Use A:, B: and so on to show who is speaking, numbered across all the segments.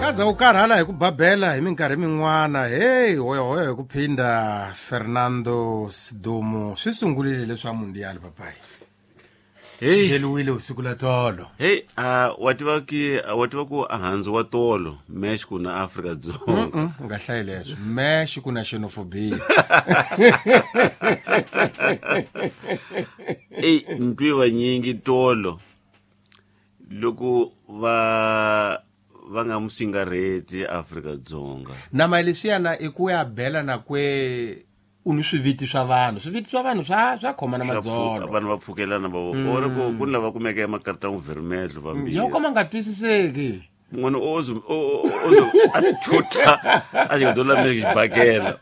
A: Nga za u karhala hi ku babela hi minkarhi min'wana. Hey, hoyohoyo hi ku phinda Fernando Sidumo swi sungurile leswa mundial papayi.
B: Hey.
A: Xiveliwile usiku la tolo.
B: Hey, wa tiva ki wa tiva ku a handzu wa tolo mesh ku na Afrika Dzonga.
A: U nga hlayi leswo. Mesh ku na xenophobia.
B: Ey, ntwi vanyingi tolo loko va va nga musingarheti Afrika Dzonga.
A: Nama leswiyana i ku ya bela na kwe u ni swiviti swa vanhu. Swiviti swa vanhu swa swa khoma na madzolo.
B: Vanhu va pfukelana va vona ku ku ni lava kumeke emakarta n'wi vermedlo vambirhi.
A: Yo ka ma nga twisiseki.
B: Munhu ozo ozo a thutha a xi nga la meke xibakela.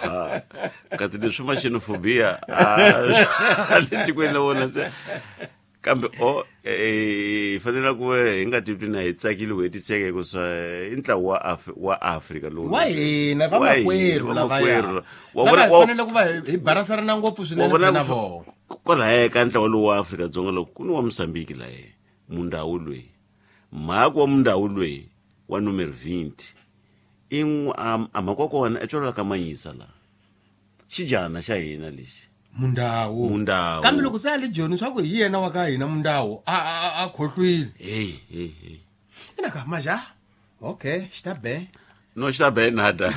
B: Ha. Kasi leswi ma xenophobia a le tikweni la vona ntsena. Kambe o hi fanele ku hi nga titwi na hi tsakile ku hetiseka hikuva i ntlawa wa wa Afrika lowu.
A: Wa hina
B: Wa hina,
A: vamakwerhu lavaya.
B: vamakwerhu. Wa
A: Lava
B: vona-
A: hi
B: wa-
A: fanele ku va hi barasarana ngopfu
B: wa
A: swinene
B: vona
A: na
B: ku-
A: vona.
B: kwalaya ka ntlawa lowu wa Afrika-Dzonga loko ku ni wa Mozambique laye mundawu loyi mhaka wa mundawu loyi wa numero 20 i a mhaka wa kona i tswalwa ka Manyisa la xijana xa hina lexi
A: Mundawu.
B: Mundawu.
A: Kambe loko se a le Joni swa ku hi yena wa ka hina Mundawu a a a khohlwile.
B: Hey hey hey.
A: Ina ka maja. Okay, xi ta be.
B: No xi ta be nada.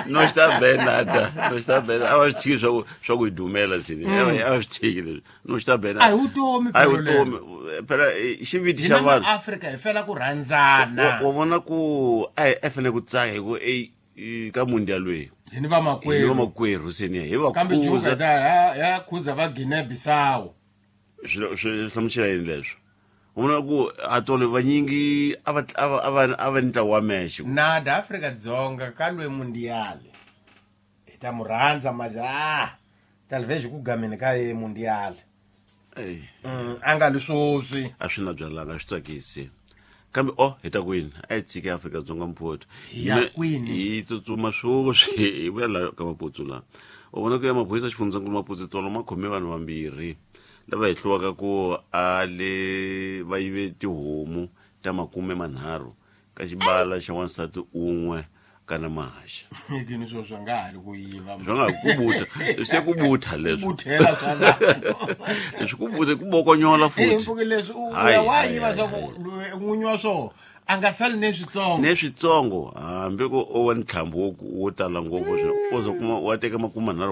B: No xi ta be nada. No xi ta be. A va swi tshiki swa ku hi dumela sini. A va swi tshiki leswi. No xi ta be nada.
A: A hi vutomi
B: A hi
A: phela
B: vutomi. Phela xiviti
A: Hina
B: xa vanhu.
A: Afrika hi fela ku rhandzana.
B: Wa vona ku a hi fanele ku tsaka hi ku ka mundial loyi.
A: Hi ni
B: Hi
A: vamakwerhu.
B: vamakwerhu seni hi va
A: Kambe Juga
B: khuza.
A: ta ya ya khuza va Guinea Bissau.
B: Swi hlamusela yini leswo? U vona ku a tolo vanyingi a va a va a va a va ni ntlawa wa mexe.
A: Nada Afrika Dzonga ka lwe mundial. Hi ta mu rhandza maja. Talvez ku gameni ka ye mundial.
B: Ey.
A: A nga li swoswi.
B: A swi na byalanga, a swi tsakisi. Kambe o hi ta kwini? A hi tshike Afrika-Dzonga mphotho.
A: Hi ya kwini?
B: Hi tsutsuma swoswi hi vuya la ka Maputsu la. U vona ku ya maphorisa xifundzankulu Maputsu tolo ma khome vanhu vambirhi lava hehliwaka ku a le va yive tihomu ta 30 ka xibala xa wansati un'we kana mahaxa.
A: Kini swo swa nga ha li ku yiva.
B: Swa nga ku butha, se ku butha leswi.
A: Buthela swa vanhu.
B: Leswi ku butha ku bokonyola
A: Hey,
B: futhi.
A: mpuki leswi u
B: Hayi,
A: ya wa
B: hayi,
A: yiva
B: hayi,
A: swa ku n'winyi wa swona a nga sali ne switsongo.
B: Ne switsongo hambi ku o wa ntlhambi wo tala ngopfu o zo kuma wa teka 30